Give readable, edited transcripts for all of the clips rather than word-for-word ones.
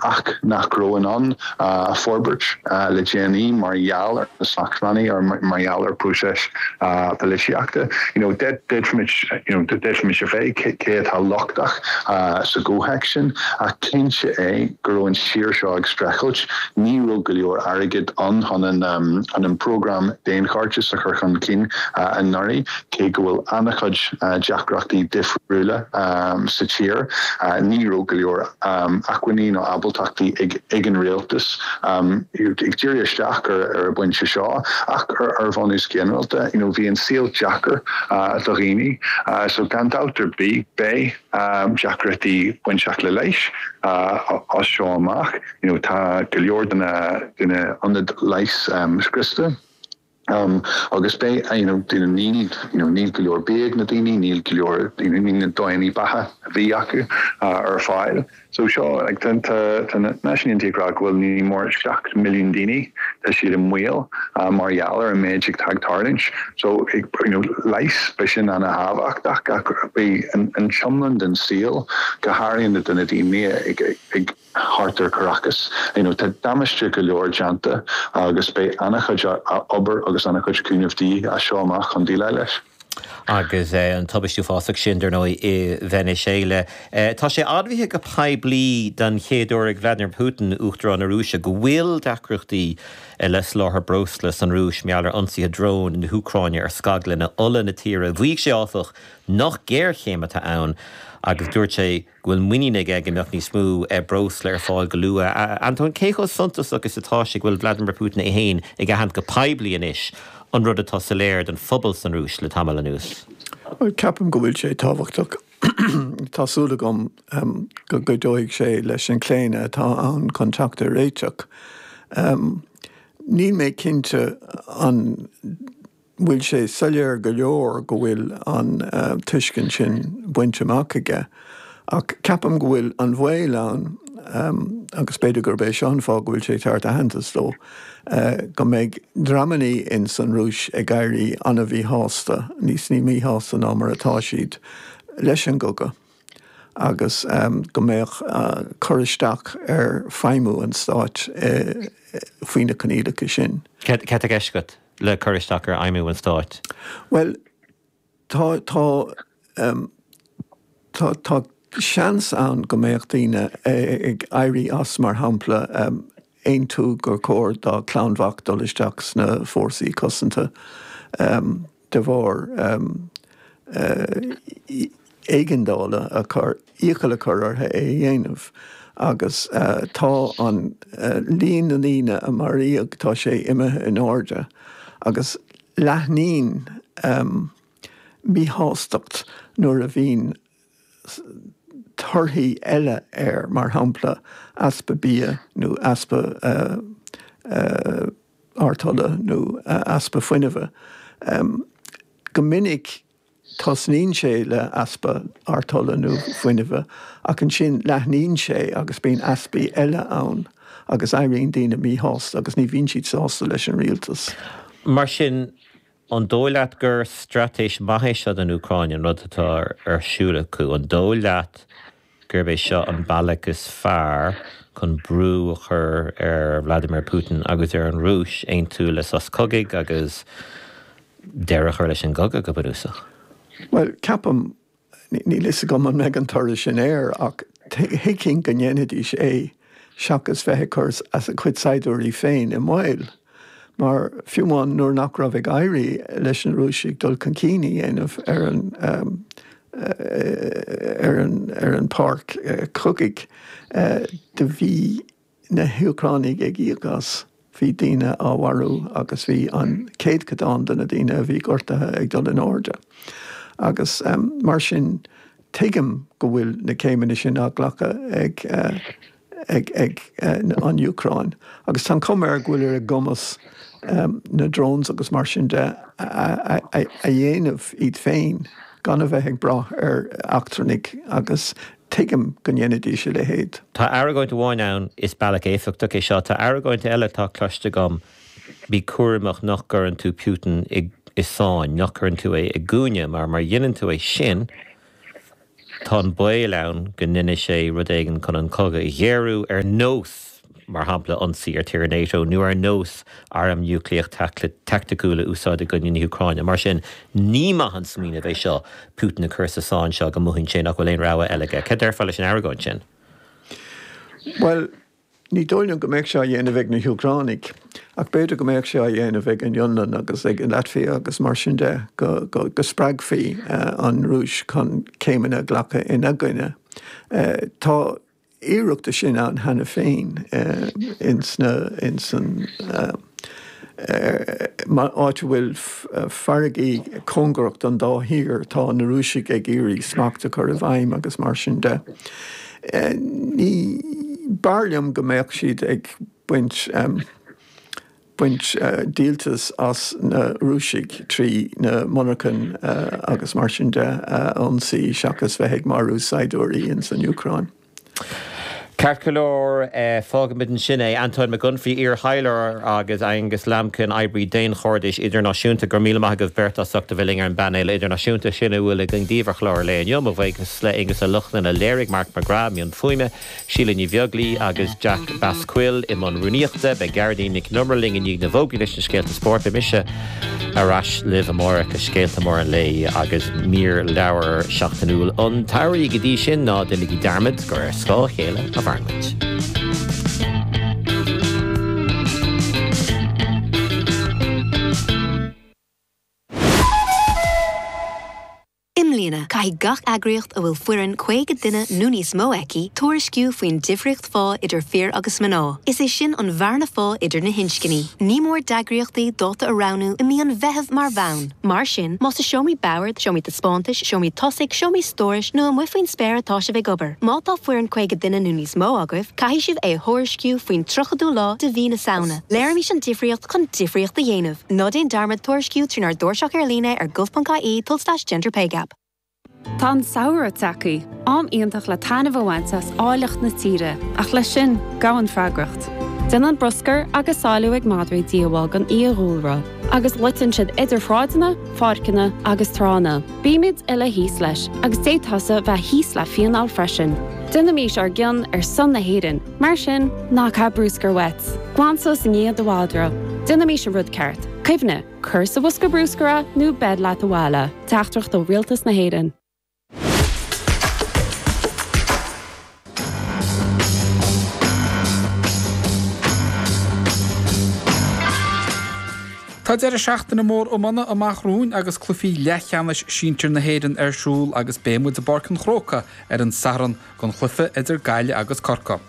ach nach raibh in ann forbairt le déanaí mar gheall ar na smachtbhannaí or mar gheall ar próiseas polaitíochta. You know, d'fhéadfaimis, you know, d'fhéadfaimis a phlé cé atá lochtach sa gcomhthéacs sin ach cinnte é go raibh an tír seo ag streachailt, ní raibh go leor airgid ann chun an chun an prógram daonchairdis a chur chun cinn anuraidh, cé go bhfuil an-chuid deacrachtaí difriúla sa tír, ní raibh go leor acmhainní nó ábaltachtaí ag an rialtas ag díriú isteach ar an bpointe seo ach ar bhunús ginearálta, you know, bhí an saol deacair do dhaoine so gan dabht ar bith beidh deacrachtaí bainteach le leighis as seo amach. You know, tá go leor de na de na ionaid leighis scriosta. Agus beidh, you know, níl, you know, níl go leor bia ag na daoine, níl go leor, you know, níl na dóigheanna beatha a bhí acu ar fáil. So seo, like, tá, tá, tá na Náisiúin Aontaithe ag rá go bhfuil ní mór 7 milliún daoine, tá siad i mbaol mar gheall ar an méid atá ag tarlúint. So, you know, leigheas, beidh sin ana-thábhachtach ach beidh an, an t-iomlán den saol, go háirithe do na daoine ag, ag, thart ar Caracas. You know, tá damáiste go leor déanta agus beidh an-chuid obair agus an-chuid cúnamh de dhíth as seo amach chun déileáil leis. Agus an tubaiste uafásach sin, dar ndóigh, i Veiniséala. Tá sé admhaithe go poiblí den chéad uair ag Vladimir Putin, Uachtarán na Rúise, go bhfuil deacrachtaí le soláthar breosla san Rúis mar gheall ar ionsaithe drón na hÚcráine ar scaglanna ola na tíre. Mhaígh sé, áfach, nach géarchéim atá ann agus dúirt sé, go bhfuil muinín aige go mbeadh níos mó breosla ar fáil go luath. Antóin, cé chomh suntasach is atá sé go bhfuil Vladimir Putin é féin ag aithint go poiblí anois an rud atá soiléir don phobal san Rúis le tamall anuas? Bhuel, ceapaim go bhfuil sé tábhachtach. Tá súil agam go gcuideoidh sé leis an chlaonadh atá ann chun teacht ar réiteach. Níl mé cinnte an. bhfuil sé soiléir go leor go bhfuil an tuiscint sin bainte amach aige. Ach ceapaim go bhfuil an baol ann, agus b'fhéidir gurb é seo an fáth go bhfuil sé ag tabhairt aitheantas dó, go mbeidh dreamannaí ins an Rúis ag éirí an-mhíshásta, níos ní míshásta ná mar atá siad, leis an gcogadh agus go mbeadh cur isteach ar feidhmiú an stáit faoi na coinníollacha sin. Cad tá i gceist agat? le cur isteach ar fheidhmiú an stáit? Bhuel, tá, tá, tá, tá seans ann go mbeadh daoine ag éirí as, mar shampla, aontú gur chóir dá gclann mhac dul isteach sna fórsaí cosanta de bharr éigeandála a chur, iachall a chur orthu é a dhéanamh agus tá an líon na ndaoine a maraíodh, tá sé imithe in airde agus leathnaíonn míshástacht nuair a bhíonn torthaí eile air, mar shampla easpa bia nó easpa artola nó easpa fuinnimhe. Go minic Tosnaíonn sé le easpa artola nó fuinnimhe ach ansin leathnaíonn sé agus bíonn easpaí eile ann agus éiríonn daoine míshásta agus ní bhíonn siad sásta leis an rialtas. Mar sin, an dóigh leat gur straitéis maith é seo don Úcráin, an rud atá ar siúl acu? An dóigh leat gurb é seo an bealach is fearr chun brú a chur ar Vladimir Putin agus ar an Rúis aontú le sos cogaidh agus deireadh a chur leis an gcogadh, go bunúsach? Bhuel, ceapaim, níl fhios agam an mbeidh an toradh sin air, ach thuigfinn go ndéanfaidís é seachas bheith ag cur a gcuid saighdiúirí féin i mbaol. Mar fiú amháin nuair nach raibh ag éirí leis na Rúisigh dul chun cinn a dhéanamh ar an ar an ar an pháirc chogaidh, do bhí na hÚcránaigh ag íoc as. Bhí daoine á mharú agus bhí an céadchodán de na daoine a bhí gortaithe ag dul in airde. Agus mar sin tuigim go bhfuil na céimeanna sin á nglacadh ag ag an Úcráin agus tá an chuma air go bhfuil ar a gcumas na drones agus mar sin de a dhéanamh iad féin gan a bheith ag brath ar eachtrannaigh agus tuigim go ndéanfaidís a leithéid. Tá argóint amháin ann, is bealach éifeachtach é seo. Tá argóint eile atá cloiste agam, bí cúramach nach gcuireann tú Putin i sáinn, nach gcuireann tú é i gcúinne, mar má dhéanann tú é sin. Tá an baol ann go ndéanfaidh sé rud éigin chun an cogadh a ghéarú, ar nós, mar shampla, ionsaí ar tír NATO nó ar nós arm núicléach taicticiúil a úsáid i gcoinne na hÚcráine. Mar sin, ní maith an smaoineamh é seo Putin a chur sa sáinn seo go mothaíonn sé nach bhfuil aon rogha eile aige. Cad déarfá leis an argóint sin? Bhuel, Ní dóigh liom go mbeadh sé á dhéanamh ag na hÚcránaigh, ach b'fhéidir go mbeadh sé á dhéanamh ag an Fhionlainn agus ag an Laitvia agus mar sin de, go spreagfaí an Rúis chun céimeanna a ghlacadh ina gcoinne. Tá iarracht de sin ann cheana féin ins na, ins an. áit a bhfuil farraigí cóngarach don dá thír, tá na Rúisigh ag iarraidh smacht a chur i bhfeidhm agus mar sin de. Ní, b'fhearr liom go mbeadh siad ag baint, baint díoltas as na Rúisigh trí na monarchain agus mar sin de a ionsaí seachas bheith ag marú saighdiúirí ins an Úcráin. Ceart go leor, fágfaimid ansin é. Antóin Mac Unfraidh, iar-thaidhleoir, agus Aengus Lambkin, oibrí daonchairdis idirnáisiúnta, go raibh míle maith agaibh beirt as ucht a bheith linn ar an bpainéal idirnáisiúnta. Sin a bhfuil againn daoibh ar chlár an lae inniu. Mo bhuíochas le Aengus Ó Lochlainn a léirigh, Mark McGrath i mbun fuaime, Síle Ní Bheaglaoi agus Jack Basquill i mbun rúnaíochta. Beidh Gearóidín Nic an Iomaire linn i ndiaidh na bhfógraí leis na scéalta spóirt. Beidh mise ar ais libh amárach le scéalta móra an lae agus mír leabhar seachtainiúil an tsamhraidh. Go dtí sin, ná déanaigí dearmad gur ar scáth a chéile a mhaireann muid. I mbliana, caithfidh gach eagraíocht a bhfuil foireann 50 duine nó níos mó aici tuairisciú faoin difríocht phá idir fir agus mná, is é sin an bhearna phá idir na hinscní. Ní mór d'eagraíochtaí dáta a roghnú i mí an Mheithimh mar bhonn. Mar sin, más i seomraí boird, seomraí taispeántais, seomraí tosaigh, seomraí stórais nó amuigh faoin spéir atá sibh ag obair, má tá foireann 50 duine nó níos mó agaibh, caithfidh sibh é a thuairisciú faoin 30ú lá de mhí na Samhna. Léirímis an difríocht chun difríocht a dhéanamh. Ná déan dearmad tuairisciú trínár dtairseach ar líne ar gov.ie tulslais genderpaygap. Tá an samhradh tagtha, am iontach le taitneamh a bhaint as áilleacht na tíre, ach leis sin, gabhann freagracht. Déanann bruscar agus sáiliú ag madraí díobháil don fhiadhúlra, agus loiteann siad idir shráideanna, pháirceanna agus tránna. Bímid uile thíos leis, agus d'fhéadfása bheith thíos le fíneáil freisin. Déanaimís ár gcion ar son na hÉireann, mar sin, ná caith bruscar uait. Glan suas i ndiaidh do mhadra. Déanaimís an rud ceart. Cuimhnigh, cuir sa bhosca bruscair é nó beir leat abhaile. Teachtaireacht ó Rialtas na hÉireann. Tá deireadh seachtaine mór iomána amach romhainn agus cluichí leathcheannais sinsir na hÉireann ar siúl agus beidh muid i bPáirc an Chrócaigh ar an Satharn don chluiche idir Gaillimh agus Corcaigh.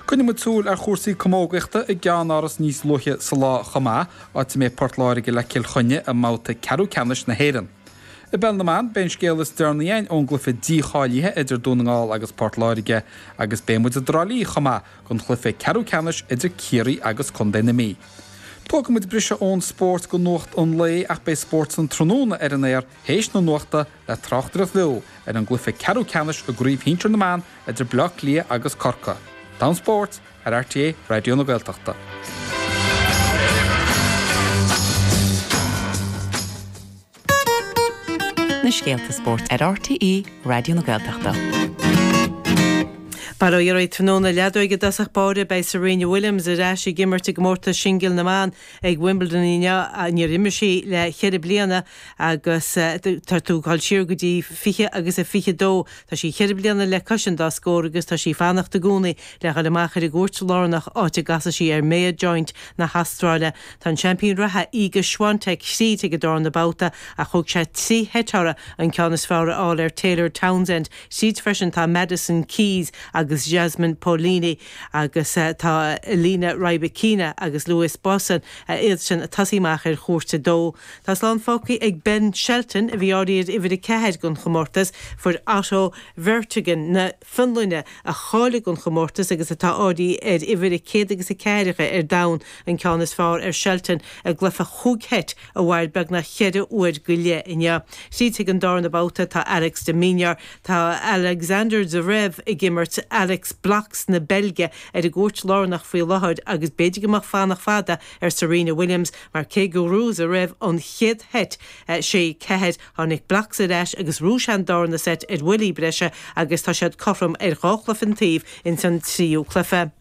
Coinneoidh muid súil ar chúrsaí camógaíochta i gceannáras níos luaithe sa lá chomh maith, áit a mbeidh Port Láirge le Cill Chainnigh i mbabhta ceathrú ceannais na hÉireann. I bPeil na mBan, beidh an scéal is deireanaí againn ón gcluiche dícháilithe idir Dún na nGall agus Port Láirge agus beidh muid i dTrá Lí chomh maith don chluiche ceathrú ceannais idir Ciarraí agus Contae na Mí. Tógfaidh muid briseadh ón spórt go nuacht an lae ach beidh Spórt san Tráthnóna ar an aer théis na nuachta le tráchtaireacht bheo ar an gcluiche ceathrú ceannais i gCraobh Shinsir na mBan idir Bleá Cliath agus Corcaigh. Am Spóirt ar RTÉ Raidió na Gaeltachta. Na scéalta spóirt ar RTÉ Raidió na Gaeltachta. Bail ó Dhia oraibh tráthnóna leadóige i dtosach báire beidh Serena Williams ar ais ag imirt i gcomórtas singil na mban ag Wimbledon inniu. Níor imir sí le ceithre bliana agus tá tú ag dul siar go dtí 20 agus a 22. Tá sí ceithre bliana le cois an dá scór agus tá sí ag fanacht i gcónaí le dhul amach ar an gcúirt lárnach áit a gcasfaidh sí ar Maya Joint na hAstráile. Tá an seaimpín reatha Iga Swiatek thríd ag an darna babhta ach thóg sé trí sheit uirthi an ceann is fearr a fháil ar Taylor Townsend. Tríd freisin tá Madison Keys agus Jasmine Paolini agus tá Elena Rybakina agus Louise Busson iadsan ag tosaí amach ar chúirt a dó. Tá slán fágtha ag Ben Shelton a bhí áirithe ar uimhir 4 don chomórtas. Fuair Otto Virtanen na. Fionlainne, a cháiligh don chomórtas agus atá áirithe ar uimhir a céad agus a ceathracha ar domhan, an ceann is fearr ar Shelton i gcluiche chúig sheit a mhair beagnach cheithre uair go leith inniu. Tríd chuig an darna babhta tá Alex de Minaur, tá Alexander Zverev ag imirt. Alex Blockx na Beilge ar an gcúirt lárnach faoi láthair agus b'fhéidir go mbeadh fanacht fada ar Serena Williams mar cé gur ghnóthaigh roimh an chéad sheit, 6, 4, tháinig Blockx ar ais agus ghnóthaigh sé an darna seit ar bhuillí breise agus tá siad cothrom ar dhá chluiche an taobh ins an tríú cluiche.